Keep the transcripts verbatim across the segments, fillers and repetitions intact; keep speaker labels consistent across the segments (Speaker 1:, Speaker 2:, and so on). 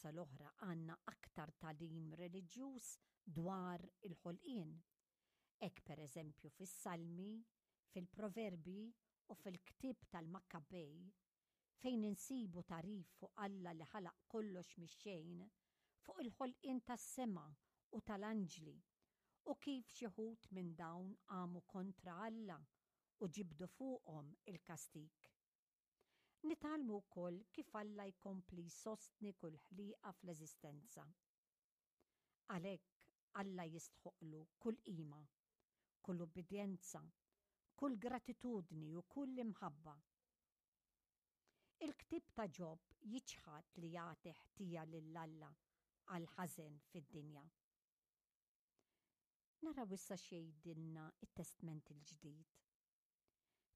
Speaker 1: Mill-biċċa l-oħra għandna aktar tagħlim reliġjuż dwar il-ħolqien. Hekk pereżempju fis-Salmi, fil-Proverbji u fil-ktieb tal-Makkabej, fejn insibu tagħrif fuq Alla li ħalaq kollox mix-xejn, fuq il-ħolqien tas-sema u tal-anġli, u kif xi wħud minn dawn qamu kontra Alla u ġibdu fuqhom il-kastig. Nitgħallmu wkoll kif Alla jkompli jsostni kull ħliqa fl-eżistenza. Għalhekk Alla jistħoqlu kull qima, kull ubbidjenza, kull gratitudni u kull imħabba. Il-ktieb ta' Ġob jiċħad li jagħti ħtija lil Alla għall-ħażen fid-dinja. Naraw issa x'jgħidilna t-Testment il-Ġdid.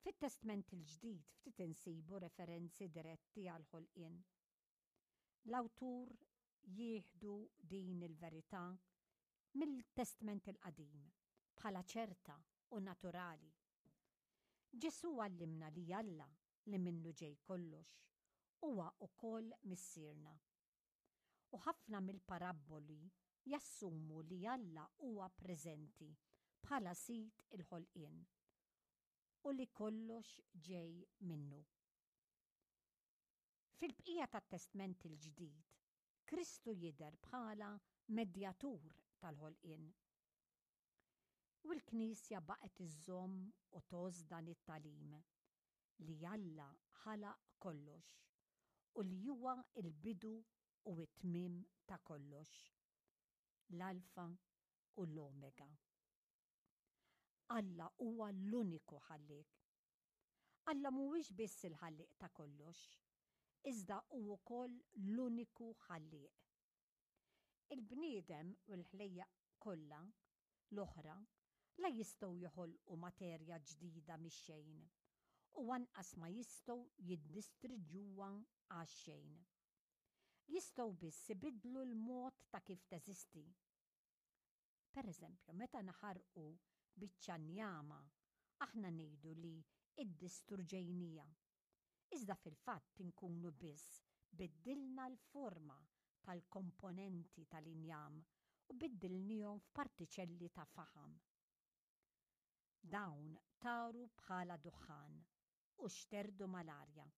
Speaker 1: Fit-Testment il-Ġdid ftit insibu referenzi diretti għall-ħolqien. L-awtur jieħdu din il-verità mill-Testment il-Qadim bħala ċerta u naturali. Ġesù għallimna li Alla li minnu ġej kollox huwa wkoll Missierna. U ħafna mill-parabboli jassumu li Alla huwa preżenti bħala sid il-ħolqien u li kollox ġej minnu. Fil-bqija tat-Testment il-Ġdid, Kristu jidher bħala medjatur tal-ħolqien. U l-Knisja baqgħet iżżomm u tgħożż dan it-tagħlim li Alla ħalaq kollox u li huwa l-bidu u t-tmiem ta' kollox, l-Alfa u l-Omega. Alla huwa l-uniku ħallieq. Alla mhuwiex biss il-ħallieq ta' kollox, iżda hu wkoll l-uniku ħallieq. Il-bniedem u l-ħlejjaq kollha l-oħra la jistgħu joħolqu materja ġdida mix-xejn u anqas ma jistgħu jiddistriġġuha għax-xejn. Jistgħu biss ibiddlu l-mod ta' kif teżisti. Per eżempju, meta naħarqu biċċa njama, aħna ngħidu li iddistruġejnija. Iżda fil-fatt inkunu biss biddilna l-forma tal-komponenti tal-injam u biddilnihom f'partiċelli ta' faħam. Dawn taru bħala duħħan u xterdu mal-arja.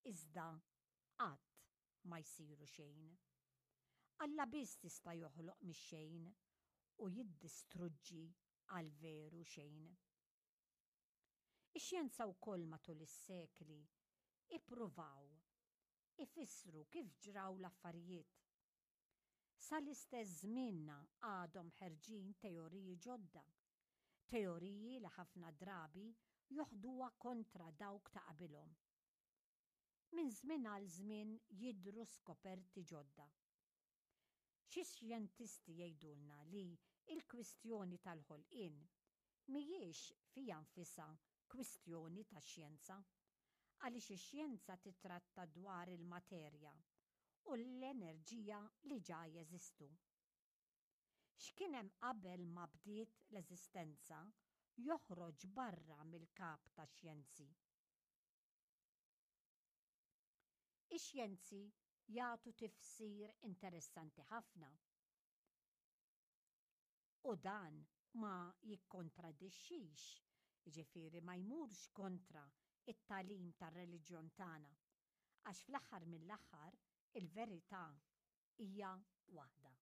Speaker 1: Iżda qatt ma jsiru xejn. Alla biss tista' joħloq mix-xejn u jiddistruġġi għal veru xejn. Ix-xjenza wkoll matul is-sekli ippruvaw ifissru kif ġraw l-affarijiet. Sal-istess żmienna għadhom ħerġin teoriji ġodda, teoriji li ħafna drabi joħduha kontra dawk ta' qabilhom. Minn żmien għal żmien jidhru skoperti ġodda. Xi xjentisti jgħidulna li l-kwistjoni tal-ħolqien mhijiex fiha nfisha kwistjoni ta' xjenza, għaliex ix-xjenza titratta dwar il-materja u l-enerġija li ġa jeżistu. X'kien hemm qabel ma bdiet l-eżistenza joħroġ barra mill-kap tax-xjenzi. Ix-xjenzi jagħtu tifsir interessanti ħafna. U dan ma jikkontradixxix, jiġifieri ma jmurx kontra it-tagħlim tar-reliġjon tagħna, għax fl-aħħar mill-aħħar il-verità hija waħda.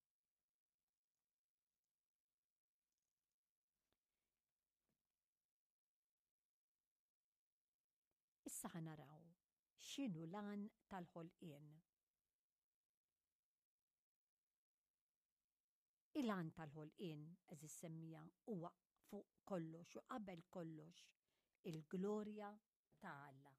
Speaker 1: Issa ħa naraw x'inhu l-għan tal-ħolqien. Il-għan tal-ħolqien, għeżież semmiegħa, huwa fuq kollox u qabel kollox il-glorja ta' Alla.